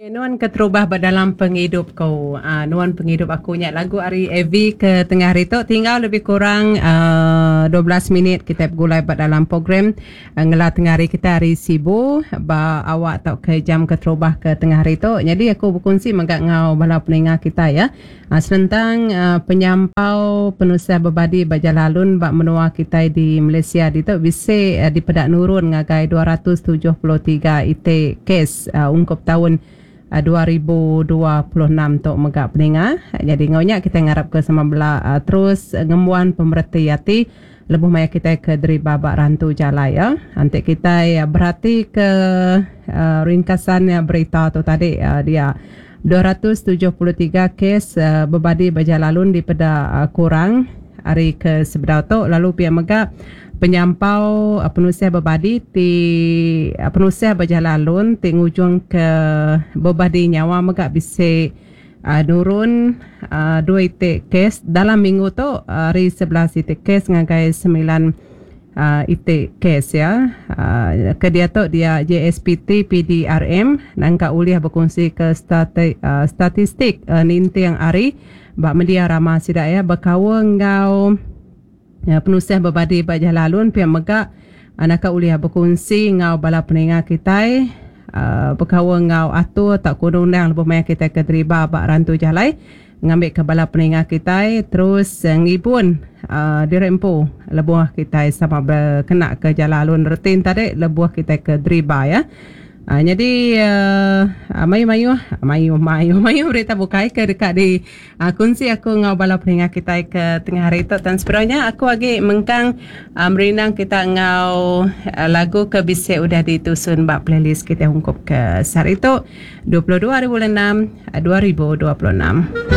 Nuan keterubah ba dalam pengidup ku. Uh, nuan pengidup aku nya lagu ari AV ke tengah hari tu tinggal lebih kurang uh, 12 minit kita begulai ba dalam program uh, ngela tengah hari kita ari Sibu ba awak tau ke jam keterubah ke tengah hari tu. Jadi aku berkongsi mega ngau bala peninga kita ya. Senentang penyampau penusah bebadi ba jalai alun ba menua kitai di Malaysia ditu bisi dipeda nurun ngagai 273 iti kes ungkup taun 2026 tu mega peninga. Nyadi enggau nya kitai ngarapka sama bela terus ngembuan pemereti ati lebuh maya kitai ke deriba ba rantu jalai. Enti kitai beratika ringkasan berita tu tadi dia 273 kes bebadi ba jalai alun dipeda kurang ari ke sebedau tu lalu pia mega penyampau penusah bebadi ti penusah ba jalai alun ti ngujungka bebadi nyawa mega bisi nurun dua iti kes dalam minggu tu ari 11 iti kes ngagai 9 iti kes ya. Ke diatu dia JSPT PDRM nangka ulih bekunsi ke statistik ninting hari ba media rama sida ya bekaul enggau penusah bebadi ba jalai alun pia mega naka ulih bekunsi enggau bala peninga kitai bekaul enggau atur tauka undang-undang lebuh maya kitai ke deriba ba rantu jalai ngambika bala peninga kitai terus ngibun diri empu lebuh kitai sama bekena ke jalai alun reti ne tadi lebuh kitai ke deriba ya. Nyadi mayuh-mayuh mayuh mayuh mayuh berita bukai ke deka di kunsi aku enggau bala peninga kitai ke tengah hari tu tang sebedau nya aku agi mengkang merindang kita enggau lagu ke bisi udah ditusun ba playlist kitai ungkup ke sehari tu 22 hari bulan 6 2026.